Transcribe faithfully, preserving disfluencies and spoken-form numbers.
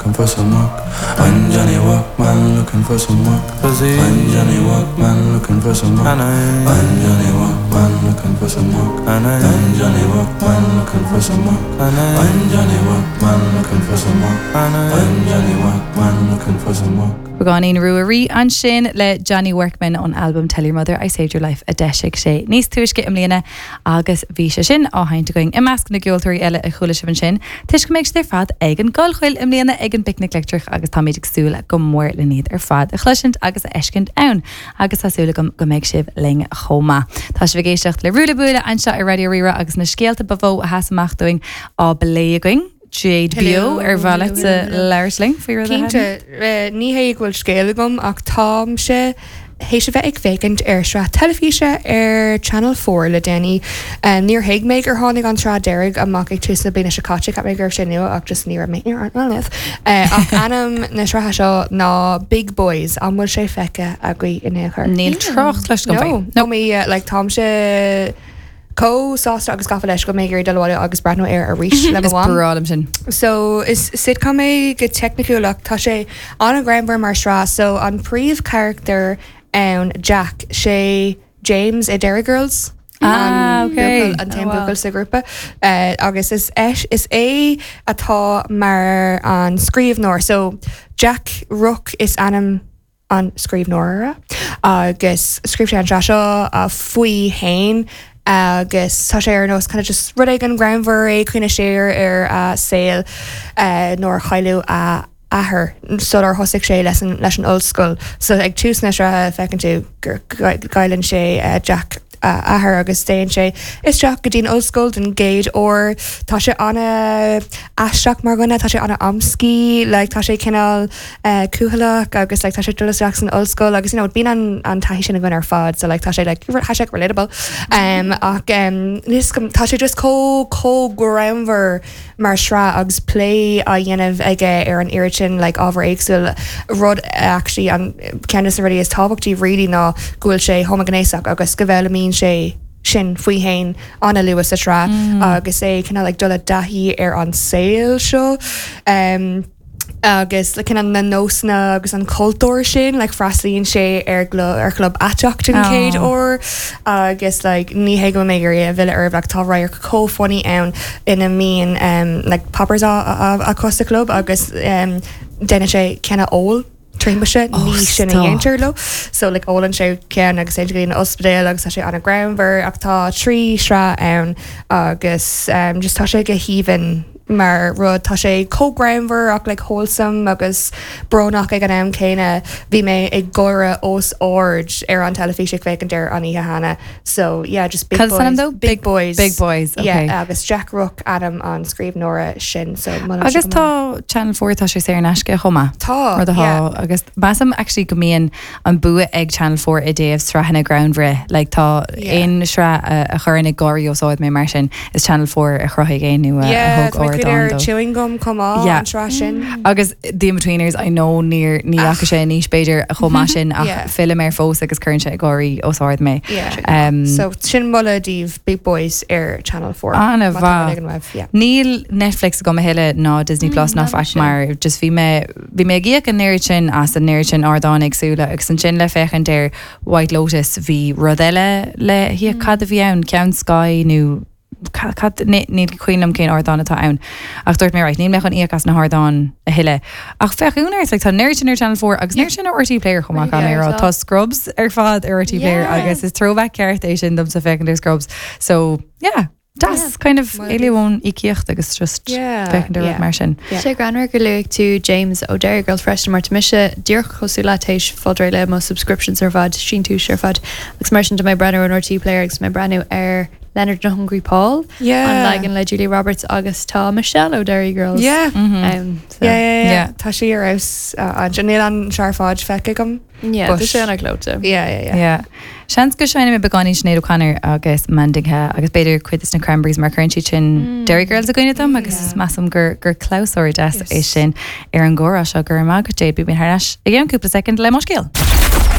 looking for some work. I'm Johnny Workman looking for some work. I'm Johnny Workman looking for some work. I'm Johnny Workman looking for some work. I'm Johnny Workman looking for some work. I'm Johnny Workman looking for some work. I'm Johnny Workman looking for some work. Beagáinín Ruairí ansin le Johnny Workman ón album Tell Your Mother I Saved Your Life a d'eisigh sé níos túisce i mbliana agus bhí sé sin á sheinnt againn i measc na gceoltóirí eile a chuala sibh ansin, Toisc go mbeidh siad ar fad ag an gCollchoill i mbliana ag an bPicnic Leictreach agus táimid ag súil go mór lena iad ar fad a chloisint agus a fheiscint ann agus tá súil agam go mbeidh sibh linn chomh maith. Tá sibh ag éisteacht le Ruaille Buaille anseo ar Raidió Rí-Rá agus na scéalta ba mhó a sheas amach dúinn á bplé againn. Jade Beo ar mhaith leat labhairt linn faoi rud a Cinnte eh, ní hé go bhfuil scéal agam ach táimse théis a bheith ag féachaint ar sraith teilifíse ar Channel four le déanaí. Um, níor thuig mé gur tháinig an tsraith deiridh amach ag tús na bliana seo caite cheap mé go raibh sé nua ach just ní raibh mé ar uh, ach ainm na sraithe seo ná Big Boys an bhfuil sé feicthe agaibh in aon chor. Níl trácht leis go No, no mé like táimse chomh sásta agus gafa leis go mé ag dul agus breathnú air arís le Is mo mham. breá liom sin. So is sitcom é go teicniúil ach tá sé an-ghreannmhar mar sraith so an príomhcharachtar ann Jack sé James i Derry Girls. Ah, An okay. buachaill- an t-aon Oh, wow. buachaill sa grúpa uh, agus is é is é atá mar an scríbhneoir so Jack Rook is ainm an scríbhneora agus scríobh sé an tsraith seo uh, faoi féin agus tá sé ar nós kind of just rud an greannmhar é cuimhneamh siar ar uh, saol uh, nuair a cailleadh a athair sular thosaigh sé leis an leis an ollscoil so ag tús na sraithe feiceann tú gur cailleann sé uh, Jack uh, athair agus téann sé isteach go dtí'n ollscoil den gcéad uair tá sé an-aisteach mar dhuine tá sé an-amscaí like, tá sé cineál uh, cúthaileach agus like, tá sé dul isteach san ollscoil agus you know, bíonn an, an taithí sin againn ar fad so like, tá sé like, hashtag relatable um, ach um, níos go- tá sé just chomh chomh greannmhar mar sraith agus plé á dhéanamh aige ar an oiread sin like, ábhar éagsúil rud actually an ceann de na rudaí is tábhachtaí really ná go bhfuil sé homaighnéasach agus go bhfoghlaimíonn sé sin faoi féin an-luath sa tsraith mm. agus é cineál like, dul i dtaithí ar an saol seo. Um, agus le cineál na nósanna agus an cultúr sin like freastalaíonn sé ar glo- ar chlub aiteach den Oh. chéad uair agus like ní hé go mé gur é bhile ar like, tá radharc chomh funny ann ina mbíonn um, like poppers á acu sa club agus um, déanann sé ceann a ól trímse Oh, ní sin a stop. dhéantar leo so like ólann sé ceann agus é go ospidéal agus tá sé an-ghreannmhar ach tá trí shraith ann agus um, just tá sé go haoibhinn mar rud tá sé chomh greannmhar ach like wholesome agus brónach ag an am céanna bhí mé ag gáire os ard ar an teilifís ag féachaint air an oíche cheana so yeah just Big Cad is ainm Boys dó? Big Boys Big Boys, okay. yeah agus Jack Rook ainm an scríbhneora sin so molaim Agus sé go mór. tá Channel four tá sé saor in aisce chomh maith. Tá, Rud atá yeah. agus measaim actually go mbíonn an bua ag Channel four i dtaobh sraitheanna greannmhara like tá Yeah. aon sraith a a chuireann ag gáirí os ard mé mar sin is Channel four a chruthaigh é nó a Yeah, thug tá mé ardán ar dó. Chewing Gum chomh maith Yeah. an tsraith sin. Agus The Inbetweeners I know níor ní fhaca sé níos b'fhéidir a chomh maith sin ach Yeah. fillim air fós agus cuireann sé ag gáirí os ard mé. Yeah. Um, so sin moladh daoibh Big Boys ar Channel four. An-mhaith. Má tá ag an web, yeah. Níl Netflix agam a thuilleadh ná Disney Plus ná ná faic mise. mar just bhí mé bhí mé ag íoc an oiread sin as an oiread sin ardán éagsúla agus ansin le féachaint ar White Lotus bhí rud eile le híoc cad a bhí ann ceann Sky nó ca- cad ní ní cuimhin liom cén ardán atá ann ach dúirt mé right, níl mé chun íoc as na hardáin a thuilleadh. Ach féach únar like, tá an oiread sin ar Channel four agus an oiread sin ar R T E Player chomh maith Yeah, mé rá tá. tá Scrubs ar fad ar R T E Player Yeah. agus is throwback ceart é sin domsa féachaint ar Scrubs. So yeah, das kind of Moladh éile ón íocaíocht agus just Yeah, féachaint ar rud yeah. mar sin. Yeah. Sé greannmhar gur luaigh tú James ó Derry Girls freisin mar tá mise díreach cosúil leat théis fáil réidh le mo subscriptions ar fad síntiús ar fad agus mar sin tá mé breathnú an R T E Player agus mé breathnú ar Leonard and Hungry Paul Yeah. an leagan le Julia Roberts agus tá Michelle ó Derry Girls. Yeah. Um, so, Yeah, yeah, yeah. Yeah. Tá sí ar fheabhas an níl an searfáid feicthe agam. yeah, But- tá sé an-ghleoite. Yeah, yeah, yeah. Yeah. Seans go seinnfidh mé beagáinín Sinéad O'Connor agus Mandinka agus b'fhéidir cuid de na Cranberries mar cuireann siad sin Derry Girls i gcuimhne dom agus Yeah. measaim gur gur clabhsúr deas Yes. é sin ar an gcomhrá seo go raibh maith agat Jade bím thar n-ais i gceann cúpla soicind le mo scéal.